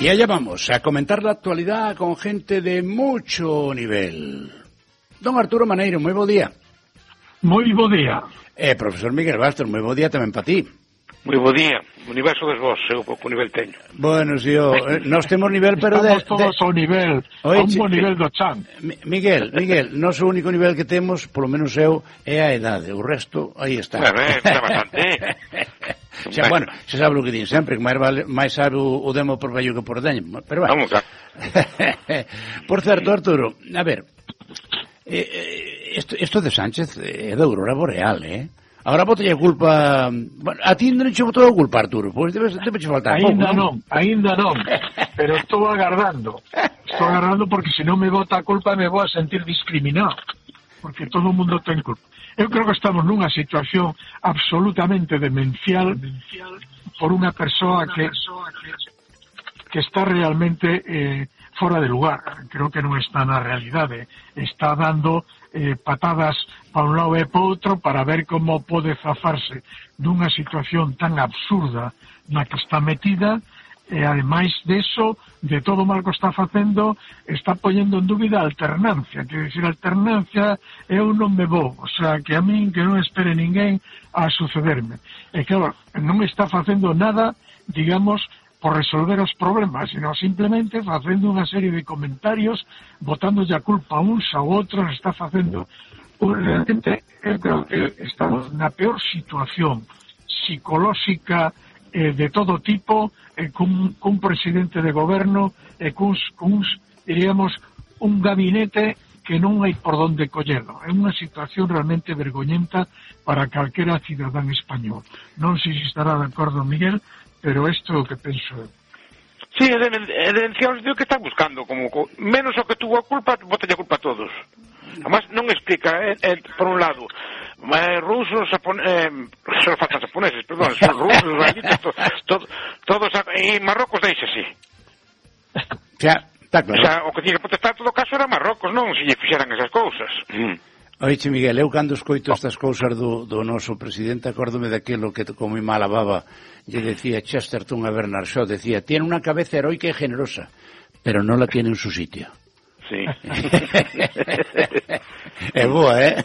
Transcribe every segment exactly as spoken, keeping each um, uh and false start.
Y allá vamos, a comentar la actualidad con gente de mucho nivel. Don Arturo Maneiro, moi bo día. Moi bo día. Eh, profesor Miguel Bastos, moi bo día tamén para ti. Moi bo día. O universo des vos, eu pouco nivel teño. Bueno, si, o, eh, nós temos nivel, pero de... Estamos todos de... ao nivel, Oye, a un bo nivel do chan. Miguel, Miguel, nós o único nivel que temos, polo menos eu, é a edade. O resto, aí está. Bueno, eh, está bastante. Xa, bueno, xa sabe o que din sempre, que máis, vale, máis sabe o, o demo por vello que por deño. Pero bueno. Vamos, claro. Por certo, Arturo, a ver, eh, isto, isto de Sánchez é da aurora boreal, eh? Agora botalle a culpa... Bueno, a ti non che botou a culpa, Arturo, pois debes, debes faltar pouco, ainda non? non, ainda non, pero estou agardando. Estou agardando porque se non me bota a culpa me vou a sentir discriminado, porque todo o mundo ten culpa. Eu creo que estamos nunha situación absolutamente demencial por unha persoa que que está realmente eh, fora de lugar. Creo que non está na realidade. Está dando eh, patadas para un lado e para outro para ver como pode zafarse dunha situación tan absurda na que está metida. E ademais deso, de todo o mal que está facendo, está poñendo en dúbida a alternancia. Quer dizer, alternancia eu non me vou, o sea, que a min que non espere ninguén a sucederme. E claro, non está facendo nada, digamos, por resolver os problemas, sino simplemente facendo unha serie de comentarios, botándolle a culpa a uns a outros, está facendo... Realmente, eu creo que estamos na peor situación psicolóxica eh, de todo tipo, eh, cun, cun presidente de goberno, e eh, cuns, cuns, diríamos, un gabinete que non hai por donde collelo. É unha situación realmente vergoñenta para calquera cidadán español. Non sei se estará de acordo Miguel, pero isto é o que penso eu. Sí, é denunciar o que está buscando, como menos o que tuvo a culpa, botalle a culpa a todos. Además, non explica, eh, eh, por un lado, eh, rusos, japoneses, eh, só faltan japoneses, perdón, son rusos, gallitos, to, to, todos, e Marrocos deixa así. Xa, está claro. O sea, o que tiña que protestar todo caso era Marrocos, non se lle fixeran esas cousas. Mm. Oiche, Miguel, eu cando escoito estas cousas do, do noso presidente, acórdome daquilo que como mi mala baba lle decía Chesterton a Bernard Shaw, decía, tiene una cabeza heroica y generosa, pero no la tiene en su sitio. Sí. É boa, eh?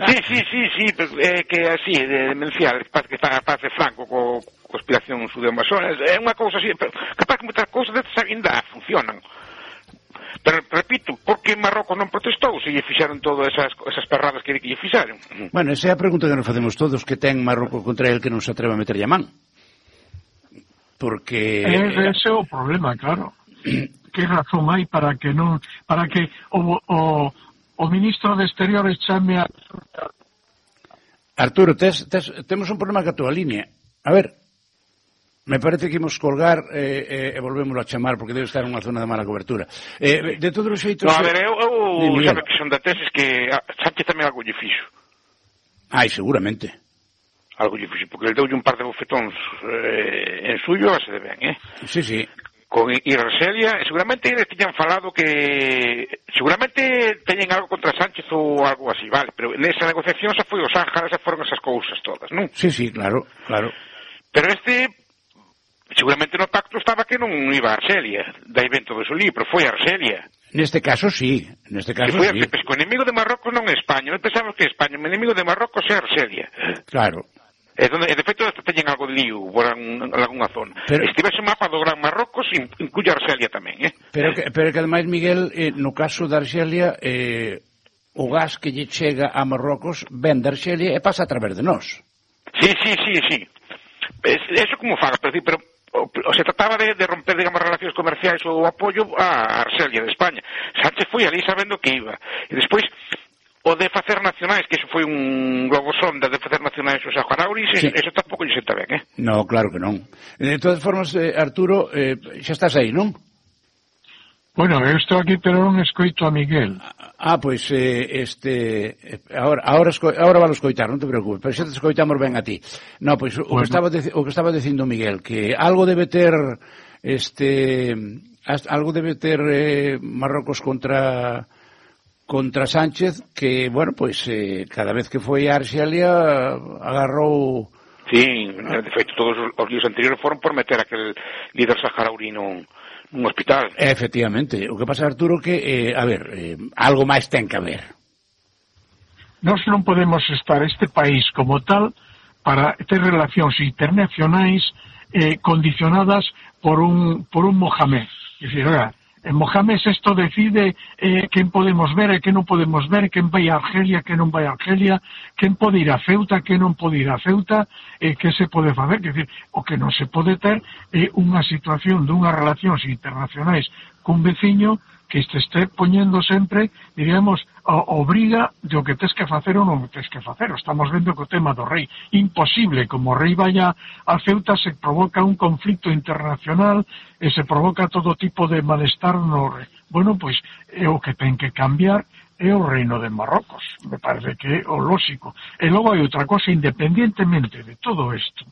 Sí, sí, sí, sí, é que así, de demencial, que está a paz de Franco co conspiración judeo-masona, é unha cousa así, pero capaz que moitas cousas destas ainda funcionan. Pero, repito, por que Marrocos non protestou se lle fixaron todas esas, esas perradas que lle fixaron? Bueno, esa é a pregunta que nos facemos todos, que ten Marrocos contra el que non se atreve a meterlle a man. Porque... É, ese é o problema, claro. Que razón hai para que non, para que o, o, o ministro de Exteriores chame a... Arturo, tes, tes, temos un problema ca túa línea. A ver, me parece que imos colgar e eh, eh, volvémoslo a chamar porque debe estar en unha zona de mala cobertura. Eh, de todos os xeitos... No, a ver, eu, eu sabe que son da tesis que Sánchez tamén algo lle fixo. Ai, seguramente. Algo lle fixo, porque ele deulle un par de bofetóns eh, en suyo, a se de ben, eh? Sí, sí. Con Argelia, seguramente eles tiñan falado que seguramente teñen algo contra Sánchez ou algo así, vale, pero nesa negociación xa foi o Sáhara, xa foron esas cousas todas, non? Sí, sí, claro, claro. Pero este, seguramente no pacto estaba que non iba a Argelia, dai ben todo o lío, pero foi a Argelia. Neste caso sí, neste caso que foi sí. Pues, o enemigo de Marrocos non é España, non pensamos que é España, o enemigo de Marrocos é Argelia. Claro. É donde, de feito, teñen algo de lío por algunha zona. Pero, este ese mapa do Gran Marrocos incluye Argelia tamén, eh? Pero que, pero que ademais, Miguel, eh, no caso de Argelia, eh, o gas que lle chega a Marrocos ven de Argelia e pasa a través de nós. Sí, sí, sí, sí. Es, eso como fala, pero, pero o, o se trataba de, de romper, digamos, relacións comerciais ou apoio a Argelia de España. Sánchez foi ali sabendo que iba. E despois... o de facer nacionais, que iso foi un globo sonda de facer nacionais os saharauis, sí. Eso tampouco lle senta ben, eh? No, claro que non. De todas formas, eh, Arturo, eh, xa estás aí, non? Bueno, eu estou aquí, pero non escoito a Miguel. Ah, pois, eh, este... Ahora, ahora, esco, ahora valo escoitar, non te preocupes, pero xa te escoitamos ben a ti. No, pois, o, bueno. que estaba de, o que estaba dicindo Miguel, que algo debe ter, este... Algo debe ter eh, Marrocos contra... contra Sánchez, que, bueno, pois, eh, cada vez que foi a Arxelia agarrou... Sí, de feito, todos os líos anteriores foron por meter aquel líder saharaui nun, un hospital. Efectivamente. O que pasa, Arturo, que, eh, a ver, eh, algo máis ten que haber. Nós non podemos estar este país como tal para ter relacións internacionais eh, condicionadas por un, por un Mohamed. É dicir, oiga, en Mohamed esto decide eh, quen podemos ver e quen non podemos ver, quen vai a Argelia, quen non vai a Argelia, quen pode ir a Ceuta, quen non pode ir a Ceuta, eh, que se pode facer, que decir, o que non se pode ter é eh, unha situación dunhas relacións internacionais cun veciño que este este poñendo sempre, diríamos, obriga de o que tes que facer ou non tes que facer. Estamos vendo que o tema do rei, imposible, como o rei vaya a Ceuta, se provoca un conflicto internacional e se provoca todo tipo de malestar no rei. Bueno, pois, é o que ten que cambiar é o reino de Marrocos, me parece que é o lóxico. E logo hai outra cosa, independientemente de todo isto,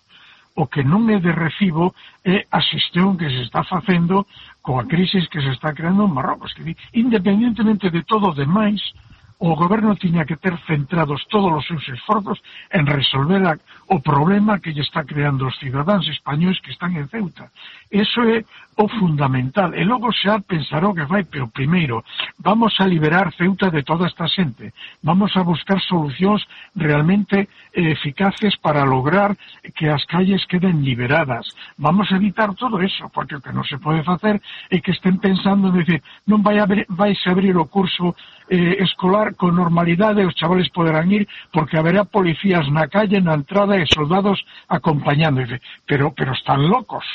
o que non é de recibo é a xestión que se está facendo coa crisis que se está creando en Marrocos. Que, independientemente de todo o demais, o goberno tiña que ter centrados todos os seus esforzos en resolver a, o problema que lle está creando os cidadáns españois que están en Ceuta. Eso é o fundamental. E logo xa pensará o que vai, pero primeiro, vamos a liberar Ceuta de toda esta xente. Vamos a buscar solucións realmente eh, eficaces para lograr que as calles queden liberadas. Vamos a evitar todo eso, porque o que non se pode facer é que estén pensando en decir, non vai a abrir, vai a abrir o curso eh, escolar con normalidade, os chavales poderán ir porque haberá policías na calle, na entrada e soldados acompañando. Pero, pero están locos.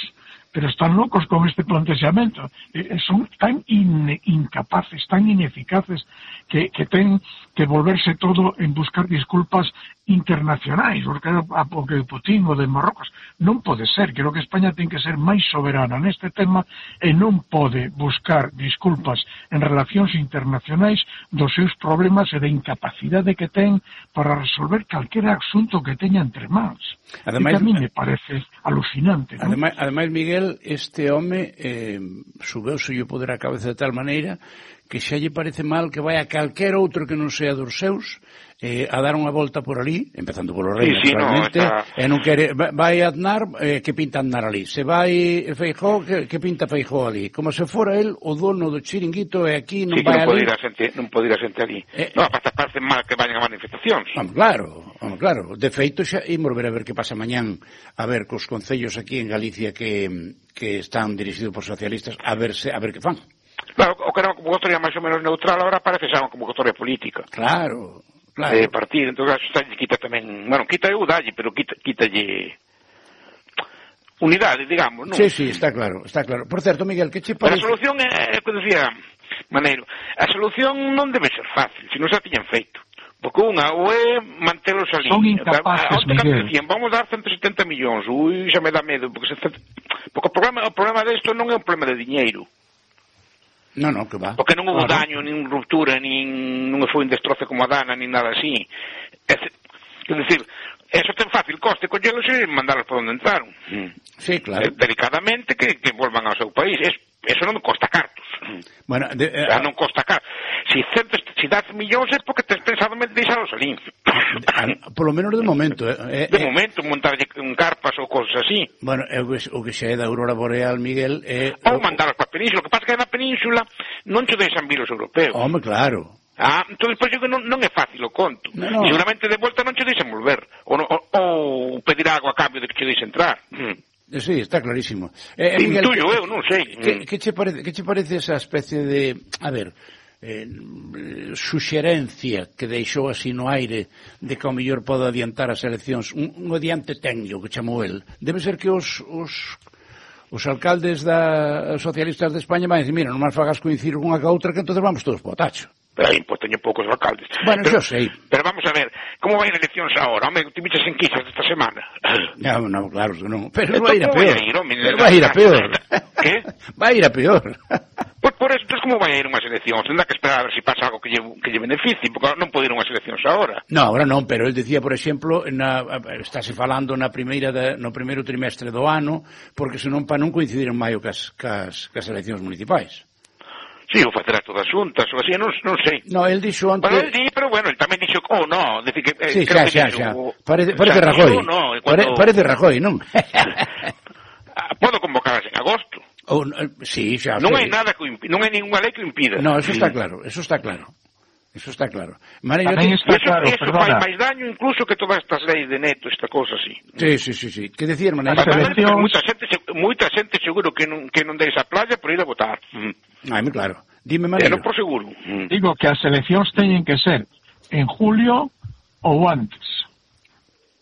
Pero están locos con este planteamiento. Eh, son tan in, incapaces, tan ineficaces que, que ten que volverse todo en buscar disculpas internacionais, porque, porque Putin o de Marrocos non pode ser. Creo que España ten que ser máis soberana neste tema e non pode buscar disculpas en relacións internacionais dos seus problemas e da incapacidade que ten para resolver calquera asunto que teña entre mans. Ademais, e que a mí me parece alucinante, ¿no? Ademais, ademais Miguel, este home eh, subeuse o poder a cabeza de tal maneira que xa lle parece mal que vai a calquer outro que non sea dos seus eh, a dar unha volta por ali, empezando polo rei, sí, sí, naturalmente, no, está... e non quere, vai a Aznar, eh, que pinta Aznar ali, se vai Feijóo, que, que pinta Feijóo ali, como se fora el o dono do chiringuito e aquí non sí, vai non ali. Sí, xente, non pode ir a xente ali. Eh, non, aparte parece mal que vayan a manifestacións. Vamos, claro, vamos, claro. De feito, xa imos ver a ver que pasa mañán, a ver cos concellos aquí en Galicia que, que están dirixidos por socialistas, a ver se, a ver que fan. Claro, o que era unha convocatoria máis ou menos neutral, agora parece xa unha convocatoria política. Claro, claro. De partido, entón xa quita tamén, bueno, quita eu dalle, pero quita, quitalle unidade, digamos, non? Sí, sí, está claro, está claro. Por certo, Miguel, que che parece? Pero a solución é, é que decía Maneiro, a solución non debe ser fácil, se non xa tiñan feito. Porque unha, ou é mantelos ali. Son incapaces, Miguel. Decían, vamos dar ciento setenta millóns, ui, xa me dá medo, porque, se, porque o problema, o problema desto non é un problema de diñeiro. No, no, que va. Porque non houve claro. daño, nin ruptura, nin non foi un destroce como a Dana, nin nada así. É, é dicir, eso ten fácil coste, collelos e mandalos por onde entraron. Sí, claro. Eh, delicadamente que, que volvan ao seu país. Es, eso non costa cartos. Bueno, de, eh, o sea, non costa cartos. Si, centes, si das millóns é porque tes pensado en deixalos ali. Polo menos de momento. Eh, de eh, momento, montarlle un carpas ou cosas así. Bueno, é o que, o que xa é da Aurora Boreal, Miguel, é... Ou mandalos para a península. O que pasa que na península non che deixan vir os europeos. Home, claro. Ah, entón, pois, eu non, non é fácil o conto. No, no. E seguramente de volta non che deixan volver. Ou, ou, ou pedir algo a cambio de que che deixen entrar. Mm. Sí, está clarísimo. Eh, sí, Miguel, tuyo, eu non sei. Que, que, che parece, que che parece esa especie de... A ver... Eh, suxerencia que deixou así no aire de que ao mellor pode adiantar as eleccións, un, un adiante técnico que chamou el, debe ser que os, os, os alcaldes da, socialistas de España van a decir, mira, non máis fagas coincidir unha ca outra que entonces vamos todos po tacho. Pero aí, pois, teño poucos alcaldes. Bueno, pero, xo sei. Pero vamos a ver, como vai as eleccións agora? Home, te bichas en quizas esta semana. No, no, claro que non. Pero Esto vai ir a peor. Vai ir, home, pero vai ir a peor. Que? Vai ir a peor. Pois por eso, entonces, como vai a ir unhas eleccións? Tendrá que esperar a ver se si pasa algo que lle, que lle beneficie, porque non pode ir unhas eleccións agora. No, agora non, pero el decía, por exemplo, na, estáse falando na primeira de, no primeiro trimestre do ano, porque senón para non coincidir en maio cas, cas, cas eleccións municipais. Sí, ou facerá todas xuntas, ou así, non, non sei. No, el dixo antes... Bueno, el di, pero bueno, el tamén dixo, oh, no, decir que... Eh, sí, creo xa, que xa, dixo, xa. Parece, parece xa, Rajoy. No, cuando... Pare, parece Rajoy, non? Podo convocarlas en agosto. Oh, sí, xa non sei. hai nada que impi- non hai ninguna lei que o impida. No, eso está claro, eso está claro. Eso está claro. Maneiro, Tamén te... está Eso, claro, eso perdona. fai máis daño incluso que todas estas leis de neto, esta cosa así. Sí, sí, sí, sí. Que decir, Maneiro? As Además, eleccións- moita xente, moita xente seguro que non, que non deixa a playa por ir a votar. Mm. Ai, moi claro. Dime, Pero Maneiro. por seguro. Mm. Digo que as eleccións teñen que ser en julio ou antes.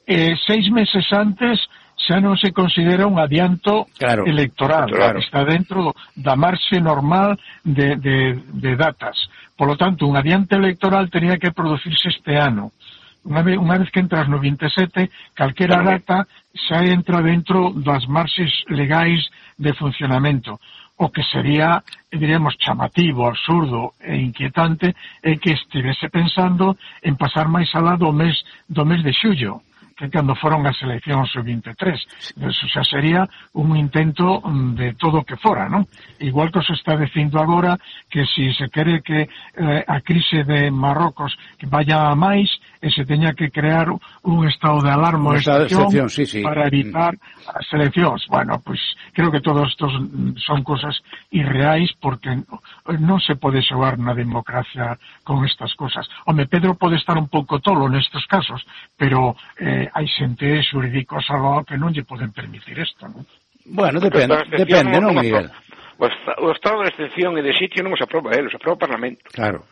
Eh, seis meses antes xa non se considera un adianto Claro, electoral. claro. Está dentro da marxe normal de, de, de datas. Por lo tanto, un adiante electoral tenía que producirse este ano. Unha vez, unha vez que entras no vinte e sete, calquera data xa entra dentro das marxes legais de funcionamento. O que sería, diríamos, chamativo, absurdo e inquietante é que estivese pensando en pasar máis alá do mes, do mes de xullo, que cando foron as eleccións o vinte e tres. Eso xa sería un intento de todo o que fora, non? Igual que se está dicindo agora que si se quere que eh, a crise de Marrocos que vaya a máis e se teña que crear un estado de alarma Un ou estado de excepción excepción, sí, sí. para evitar as eleccións. Bueno, pues creo que todos estos son cosas irreais porque non se pode xogar na democracia con estas cosas. Home, Pedro pode estar un pouco tolo nestes casos, pero eh, hai xente xurídicos algo que non lle poden permitir isto, non? Bueno, depende, depende, non, Miguel? O, o estado de excepción e de sitio non os aproba ele, os aproba o Parlamento. Claro.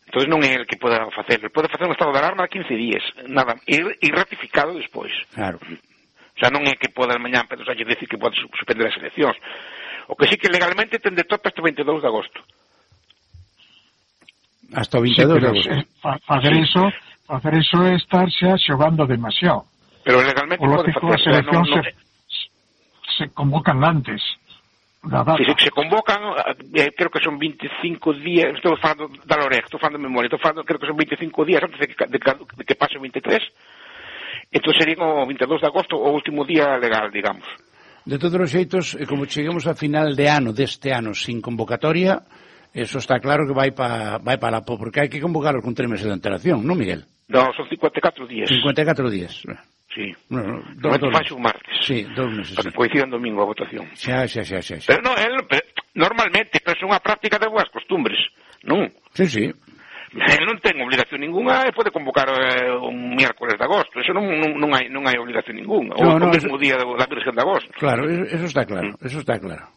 Entón non é el que poda facerlo. Pode facer un estado de alarma a quince días, nada, e, e ratificado despois. Claro. O sea, non é que poda mañán Pedro Sánchez decir que pode suspender as eleccións. O que sí que legalmente ten de tope hasta o veintidós de agosto. Hasta o veintidós sí, de agosto. Fa, facer sí. eso, facer eso é estar xa xogando demasiado. Pero legalmente o pode lógico, facer. as eleccións No, no, se, se convocan antes. Si se, se convocan, eh, creo que son veinticinco días, estou falando da Loreg, estou falando de memoria, estou falando, creo que son veinticinco días antes de que, de, de que pase o vinte e tres, entón sería o veintidós de agosto o último día legal, digamos. De todos os xeitos, como cheguemos a final de ano, deste ano, sin convocatoria, eso está claro que vai para vai pa la po, porque hai que convocarlo con tres meses de antelación, non, Miguel? Non, son cincuenta e catro días. cincuenta e catro días. Sí. No, no, dos, dos meses. un martes. Sí, dos meses. Para sí. que coincida en domingo a votación. Xa, xa, xa, xa. xa. Pero non, él, pero, normalmente, pero é unha práctica de boas costumbres, non? Sí, sí. Él non ten obligación ninguna e pode convocar eh, un miércoles de agosto. Eso non, non, non, hai, non hai obligación ninguna. Ou no, no, o mesmo eso... día da Virgen de agosto. Claro, eso está claro, mm. eso está claro.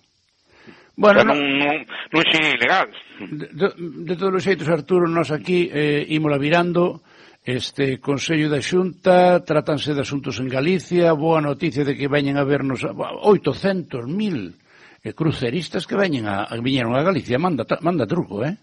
Bueno, o sea, non, non, non é ilegal. De, de, de todos os xeitos, Arturo, nós aquí eh, ímola virando. Este Consello da Xunta, tratanse de asuntos en Galicia, boa noticia de que veñen a vernos oitocentos mil eh, cruceristas que veñen a, a viñeron a Galicia, manda, manda truco, eh?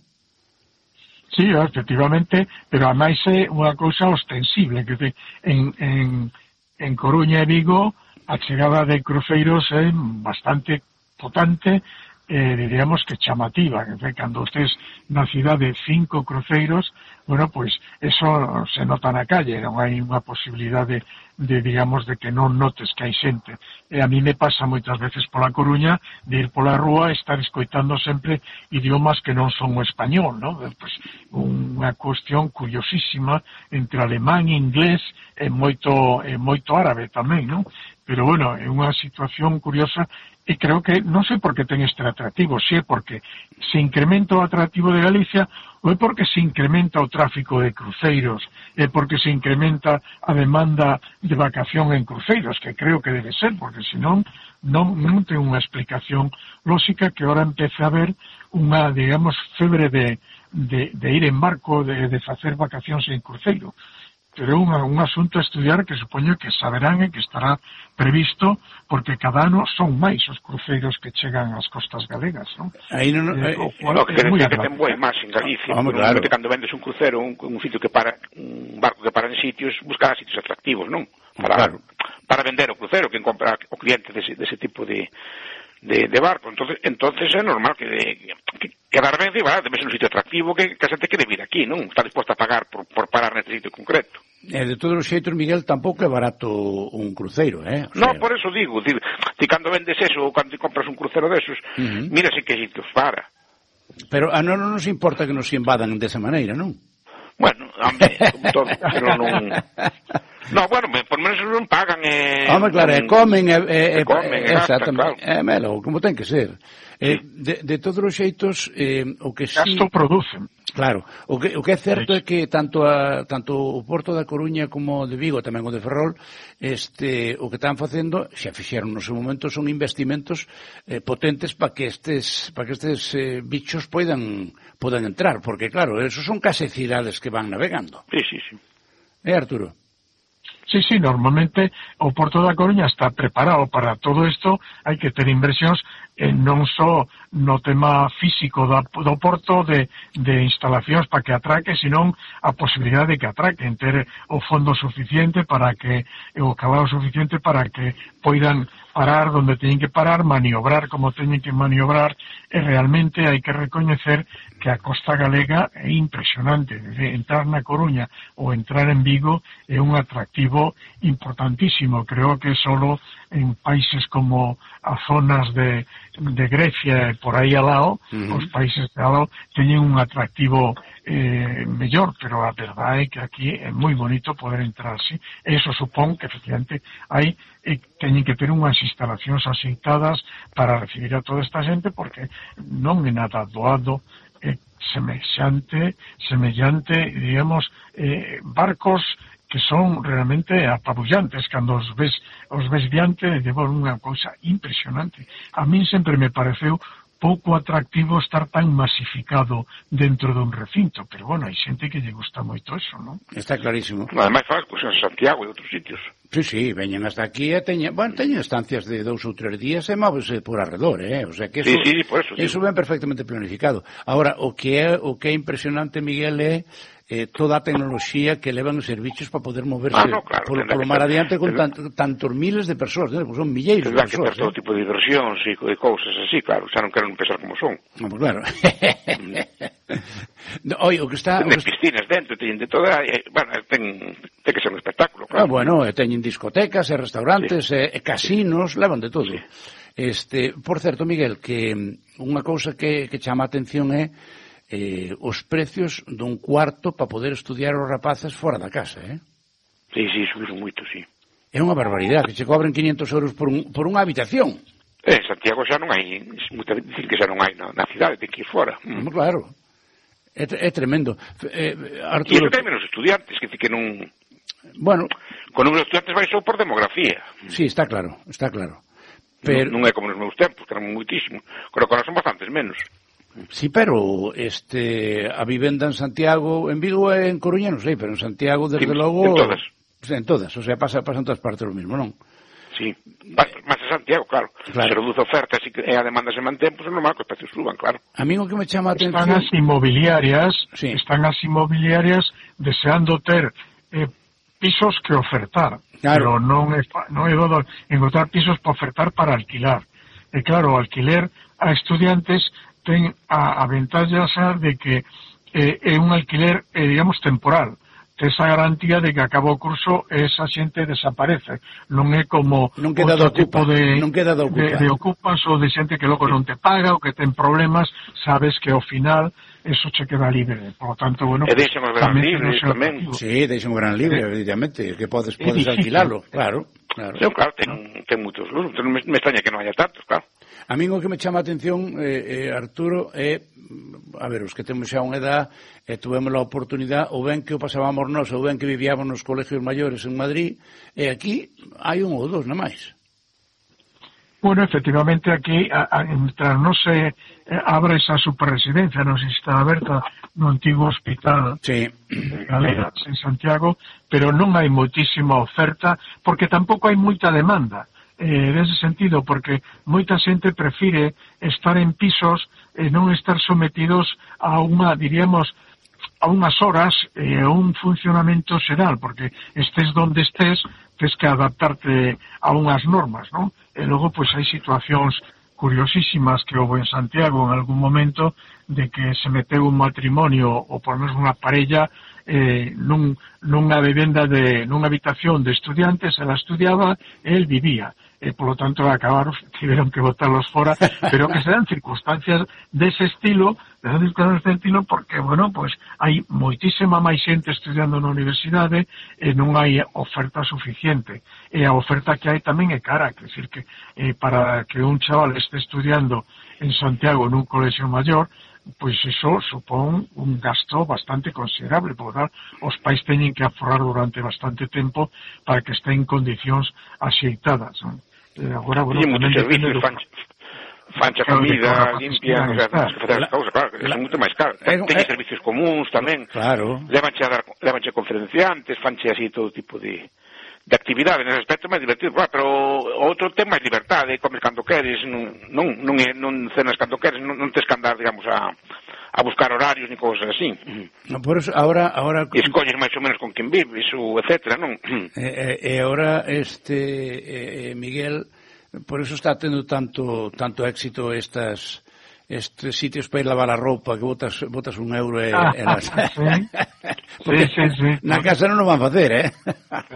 Sí, efectivamente, pero ademais é unha cousa ostensible, que en, en, en Coruña e Vigo a chegada de cruceiros é bastante potente, eh, diríamos que chamativa, que cando estés na cidade cinco cruceiros, bueno, pois eso se nota na calle, non hai unha posibilidade de, digamos, de que non notes que hai xente. E a mí me pasa moitas veces pola Coruña de ir pola rúa e estar escoitando sempre idiomas que non son o español, non? Pois unha cuestión curiosísima entre alemán e inglés e moito, e moito árabe tamén, non? Pero, bueno, é unha situación curiosa e creo que, non sei por que ten este atractivo, se é porque se incrementa o atractivo de Galicia ou é porque se incrementa o tráfico de cruceiros, é porque se incrementa a demanda de vacación en cruceiros, que creo que debe ser, porque senón non, non ten unha explicación lógica que ahora empece a haber unha, digamos, febre de, de, de ir en barco, de, de facer vacacións en cruceiro. Pero é un, un asunto a estudiar que supoño que saberán e que estará previsto porque cada ano son máis os cruceiros que chegan ás costas galegas, non? Aí non, eh, eh, no, que ten que ten moi máis en Galicia. Vamos, claro. Cando vendes un crucero, un, un sitio que para, un barco que para en sitios, buscar sitios atractivos, non? Para, claro. para vender o crucero, quen compra o cliente dese, dese tipo de de, de barco. Entonces, entonces é normal que, que quedar ben cibada, debe ser un sitio atractivo que, que a xente quere vir aquí, non? Está disposta a pagar por, por parar neste sitio concreto. E de todos os xeitos, Miguel, tampouco é barato un cruceiro, eh? O sea... No, por eso digo, ti, ti cando vendes eso ou cando compras un crucero desos, uh-huh. mira se que sitios para. Pero a non nos importa que nos invadan desa maneira, non? Bueno, hombre, como todo, pero non... No, bueno, por menos non pagan e... Home, claro, e comen e... e comen e gastan, claro. É melo, como ten que ser. Eh, de, de todos os xeitos, eh, o que sí... Gasto producen. Claro, o que, o que é certo é que tanto a, tanto o Porto da Coruña como o de Vigo, tamén o de Ferrol, este, o que están facendo, xa fixeron no seu momento, son investimentos eh, potentes para que estes, para que estes eh, bichos poidan, podan entrar, porque claro, esos son case cidades que van navegando. Sí, sí, sí. Eh, Arturo? Sí, sí, normalmente o Porto da Coruña está preparado para todo isto, hai que ter inversións eh, non só no tema físico do, do Porto de, de instalacións para que atraque, senón a posibilidade de que atraquen, ter o fondo suficiente para que, o cabalo suficiente para que poidan parar donde teñen que parar, maniobrar como teñen que maniobrar, e realmente hai que recoñecer que a costa galega é impresionante. Entrar na Coruña ou entrar en Vigo é un atractivo importantísimo. Creo que solo en países como as zonas de, de Grecia e por aí al lado, uh-huh. os países de al lado teñen un atractivo eh, mellor, pero a verdade é que aquí é moi bonito poder entrar así. Eso supón que efectivamente hai e teñen que ter unhas instalacións aceitadas para recibir a toda esta xente, porque non é nada doado eh, semellante, semellante, digamos, eh, barcos que son realmente apabullantes cando os ves, os ves diante de unha cousa impresionante. A min sempre me pareceu pouco atractivo estar tan masificado dentro dun recinto, pero bueno, hai xente que lle gusta moito eso, non? Está clarísimo. Ademais, faz cousas en Santiago e outros sitios. Sí, sí, veñen hasta aquí e teñen, bueno, teñen estancias de dous ou tres días e móvese por arredor, eh? O sea que eso, sí, sí, por eso, eso ven perfectamente planificado. Ahora, o que é o que é impresionante, Miguel, é eh, toda a tecnoloxía que levan os servicios para poder moverse ah, no, claro, polo, polo mar adiante con tant, tantos miles de persoas, ¿no? Son milleiros de persoas. Tendrán que ter todo tipo de diversións e de cousas así, claro, xa non quero pensar como son. No, pues claro. Oi, o que está... Ten piscinas dentro, teñen de toda... Eh, bueno, ten, ten que ser un espectáculo, Ah, claro. bueno, teñen discotecas e restaurantes sí. e, e casinos, sí. levan de todo. Sí. Este, por certo, Miguel, que unha cousa que, que chama a atención é eh, os precios dun cuarto para poder estudiar os rapaces fora da casa, eh? Sí, sí, subiron moito, sí. É unha barbaridade, que che cobren quinhentos euros por, un, por unha habitación. En Santiago xa non hai, é moito difícil que xa non hai na, na cidade, ten que ir fora. Mm. Claro, é, é tremendo. Eh, Arturo... E iso ten menos estudiantes, que que non... Bueno... Con número de estudiantes vai só por demografía. Sí, está claro, está claro. Pero... Non, non é como nos meus tempos, que eran moitísimos. Creo que ahora son bastantes menos. Sí, pero este a vivenda en Santiago, en Vigo e en Coruña non sei, pero en Santiago desde sí, logo en todas. En todas, o sea, pasa, pasa en todas partes lo mismo, non? Sí, máis en Santiago, claro. claro. Se reduce a oferta e a demanda se mantén, pois pues é normal que os precios suban, claro. A mí o que me chama a atención... Están as inmobiliarias, sí. están as inmobiliarias deseando ter eh, pisos que ofertar, claro. pero non é, non é dodo encontrar pisos para ofertar para alquilar. E claro, o alquiler a estudiantes ten a, a ventaja de que eh, é un alquiler, eh, digamos, temporal. Ten esa garantía de que acaba o curso esa xente desaparece. Non é como non queda outro ocupa, tipo de, non queda de, de, de ocupas ou de xente que logo non te paga ou que ten problemas, sabes que ao final eso che queda libre. Por lo tanto, bueno, e deixan o verán libre tamén. Sí, deixan o verán libre, eh, evidentemente, que podes, podes alquilalo, claro. Claro, sí, claro, ten, ten moitos luz, me, me extraña que non haya tantos, claro. A mí o que me chama a atención, eh, eh, Arturo, é, a ver, os que temos xa unha edad, e eh, tuvemos a oportunidade, ou ben que o pasábamos nós, ou ben que vivíamos nos colegios maiores en Madrid, e aquí hai un ou dos, non máis. Bueno, efectivamente aquí, a, a, mientras non se eh, abra esa superresidencia, non se está aberta no antigo hospital sí. de Galeras en Santiago, pero non hai moitísima oferta, porque tampouco hai moita demanda. Eh, nese sentido, porque moita xente prefire estar en pisos e non estar sometidos a unha, diríamos, a unhas horas e eh, a un funcionamento xeral, porque estés donde estés, tens que adaptarte a unhas normas, non? E logo, pois, hai situacións curiosísimas que houve en Santiago en algún momento de que se meteu un matrimonio ou por menos unha parella eh, nun, nunha vivenda de, nunha habitación de estudiantes, ela estudiaba e el vivía. e polo tanto acabaron, tiveron que botarlos fora, pero que se dan circunstancias dese estilo, de circunstancias dese estilo, porque, bueno, pues hai moitísima máis xente estudiando na universidade e non hai oferta suficiente. E a oferta que hai tamén é cara, quer decir que eh, para que un chaval este estudiando en Santiago nun colexio maior, pois iso supón un gasto bastante considerable, porque claro, os pais teñen que aforrar durante bastante tempo para que estén en condicións axeitadas, non? E agora, bueno, sí, moitos servicios, do... fancha, fancha comida, limpia, o sea, tens que facer as cousas, claro, que son moito máis caros. Teñen servicios comuns tamén, claro. Levanche a dar, levanche conferenciantes, fanche así todo tipo de... de actividade, nese aspecto máis divertido, claro, pero outro tema é liberdade, comes cando queres, non, non, non, non cenas cando queres, non, non tes que andar, digamos, a, a buscar horarios ni cousas así. No, por eso, ahora... ahora... E escolles máis ou menos con quen vives, ou etcétera, non? E, e agora, este, eh, Miguel, por eso está tendo tanto, tanto éxito estas... estes sitios para ir lavar a roupa que botas, botas un euro e... Ah, e las... sí, sí, sí. Na casa non o van facer, eh?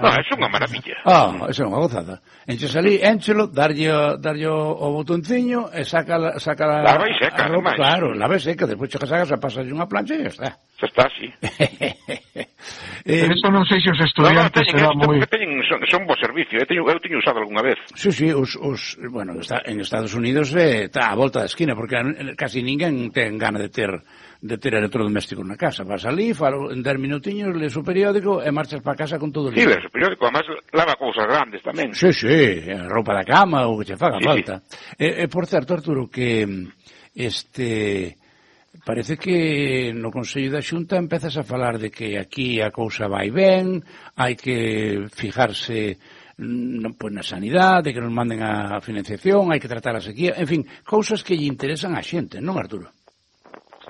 No, é unha maravilla. Ah, é unha gozada. Enches ali, énchelo, darlle, darlle o, o botonciño e saca, la, saca la, lava e seca, a roupa, ademais. claro, lava e seca, despois chegas a casa, pasas unha plancha e ya está. Xa está, sí. eh, Pero eso non sei se os estudiantes no, no, será moi... Teñen, son, son bo servicio, eu teño, eu teño usado algunha vez. Sí, sí, os, os, bueno, está, en Estados Unidos eh, está a volta da esquina, porque casi ninguén ten gana de ter de ter electrodomésticos na casa. Vas ali, falo en dez minutiños, lees o periódico e marchas para casa con todo o Sí, libro. lees o periódico, además lava cousas grandes tamén. Sí, sí, roupa da cama ou que che faga sí, falta. Sí. E, e, por certo, Arturo, que este... parece que no Consello da Xunta empezas a falar de que aquí a cousa vai ben, hai que fijarse non, pois, na sanidade, que nos manden a financiación, hai que tratar a sequía, en fin, cousas que lle interesan á xente, non, Arturo?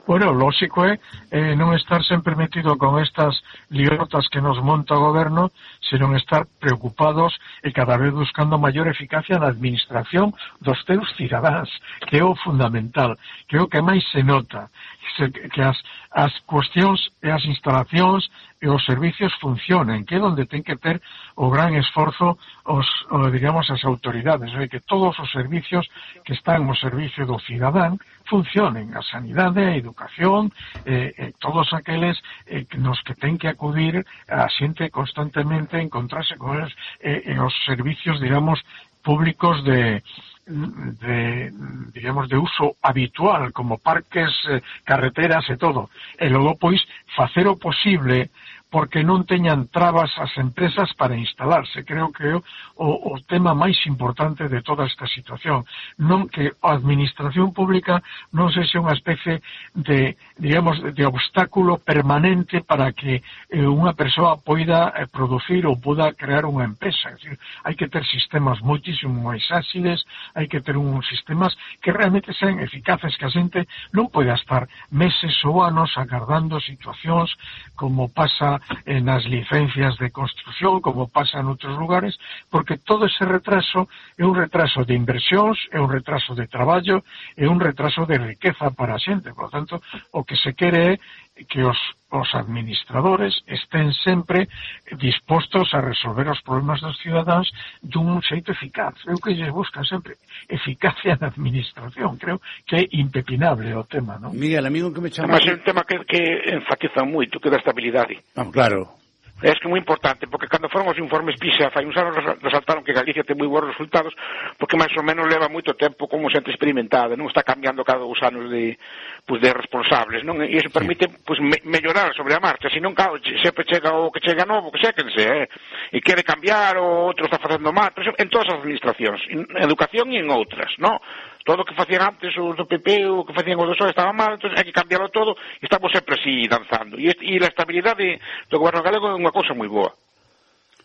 Bueno, lógico é eh, non estar sempre metido con estas liortas que nos monta o goberno, senón estar preocupados e cada vez buscando maior eficacia na administración dos teus cidadáns, que é o fundamental, que é o que máis se nota, que as, as cuestións e as instalacións e os servicios funcionen, que é onde ten que ter o gran esforzo os, o, digamos, as autoridades, é que todos os servicios que están no servicio do cidadán funcionen, a sanidade, a educación, eh, eh, todos aqueles eh, nos que ten que acudir a xente constantemente encontrarse con eles, eh, eh, os servicios, digamos, públicos de de, digamos, de uso habitual, como parques, eh, carreteras e todo. E logo, pois, facer o posible porque non teñan trabas as empresas para instalarse. Creo que é o, o tema máis importante de toda esta situación. Non que a administración pública non sexa unha especie de, digamos, de obstáculo permanente para que eh, unha persoa poida eh, producir ou poda crear unha empresa. É dicir, hai que ter sistemas moitísimo máis áxiles, hai que ter uns sistemas que realmente sean eficaces, que a xente non poida estar meses ou anos agardando situacións como pasa en as licencias de construcción, como pasa en outros lugares, porque todo ese retraso é un retraso de inversións, é un retraso de traballo, é un retraso de riqueza para a xente. Por lo tanto, o que se quere é que os, os administradores estén sempre dispostos a resolver os problemas dos cidadáns dun xeito eficaz. Eu que lles buscan sempre eficacia na administración. Creo que é impepinable o tema, non? Miguel, amigo que me chama... Mas é un tema que, que enfatiza moito, que da estabilidade. Ah, claro. É que é moi importante, porque cando foron os informes PISA, fai uns anos resaltaron que Galicia ten moi bons resultados, porque máis ou menos leva moito tempo como xente experimentada, non está cambiando cada dos anos de, pues, de responsables, non? E iso permite pues, me, mellorar sobre a marcha, senón, claro, sempre chega o que chega novo, que séquense, eh? E quere cambiar, o outro está facendo mal, pero en todas as administracións, en educación e en outras, non? Todo o que facían antes os do P P, o que facían os do P S O E estaba mal, entón hai que cambiarlo todo, e estamos sempre así danzando. E, este, e a estabilidade do goberno galego é unha cousa moi boa.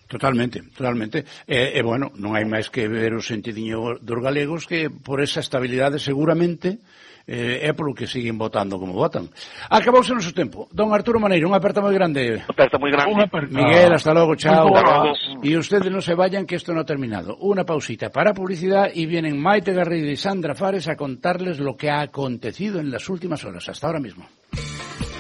Totalmente, totalmente. E, e bueno, non hai máis que ver o sentidiño dos galegos que por esa estabilidade seguramente eh, é polo que siguen votando como votan. Acabouse o noso tempo. Don Arturo Maneiro, unha aperta moi grande. Unha aperta moi grande. Aperta. Miguel, hasta logo, chao. Hasta logo. Y ustedes no se vayan que esto no ha terminado. Una pausita para publicidad y vienen Maite Garrido y Sandra Fares a contarles lo que ha acontecido en las últimas horas. Hasta ahora mismo.